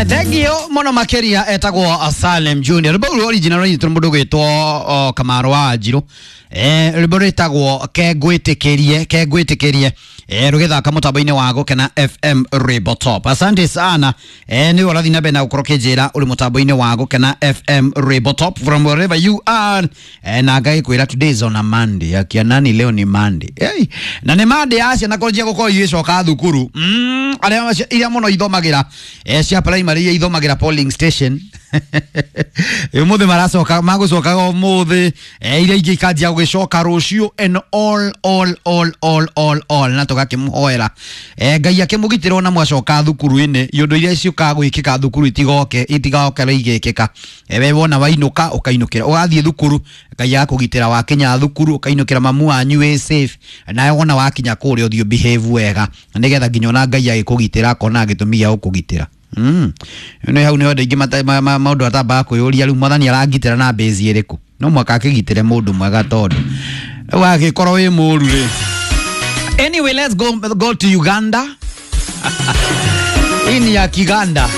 Thengio muno makiria. Etagwo Salem Junior. Rwimbo rũu original rũnyitwo nĩ mũndũ ũgwĩtwo Kamaro wa Njirũ. Rwimbo rwĩtagwo Kengwĩtĩkĩrie, Kengwĩtĩkĩrie, rũgĩthaka mũtambo-inĩ wa Gũkena FM Rwimbo Top. Asante sana. Nĩ ũrathiĩ na mbere na gũkorwo kĩnjĩra ũrĩ mũtambo-inĩ wa Gũkena FM Rwimbo Top from wherever you are. Na ngagĩkwĩra today is on a Monday. Akia nani, leo ni Monday. Hey, na nĩ Monday ya ciana kũnjia gũkorwo igĩcoka thukuru. Arĩa iria mũno ithomagĩra cia primary, iria ithomagĩra polling station, ũmũthĩ maracoka, magũcokaga ũmũthĩ. Iria ingĩ ikanjia gũgĩcoka rũciũ and all all all all all all, na tũgakĩmũhoera Ngai akĩmũgitĩra ona mwacoka thukuru-inĩ, iũndũ iria ciũkaga gwĩkĩka thukuru itigoke, itigoke igĩkĩka. We wona wainũka, ũkainũkĩra ũgathiĩ thukuru, Ngai agakũgitĩra, wakinya thukuru ũkainũkĩra mamu wanyu wĩ safe. Nawe wona wakinya kũrĩa, ũthiĩ behave wega, nĩgetha nginya ona Ngai agĩkũgitĩra akona gĩtũmi gĩa gũkũgitĩra. Nĩ hau nĩho andũ aingĩ maũndũ atambaga kwĩyũria, rĩu Mwathani arangitĩra na base ĩrĩkũ? No mwaka akĩgitĩre mũndũ mwega, tondũ rĩu agĩkorwo wĩ mũru rĩ. Anyway, let's go to Uganda. Hii ni ya Kiganda.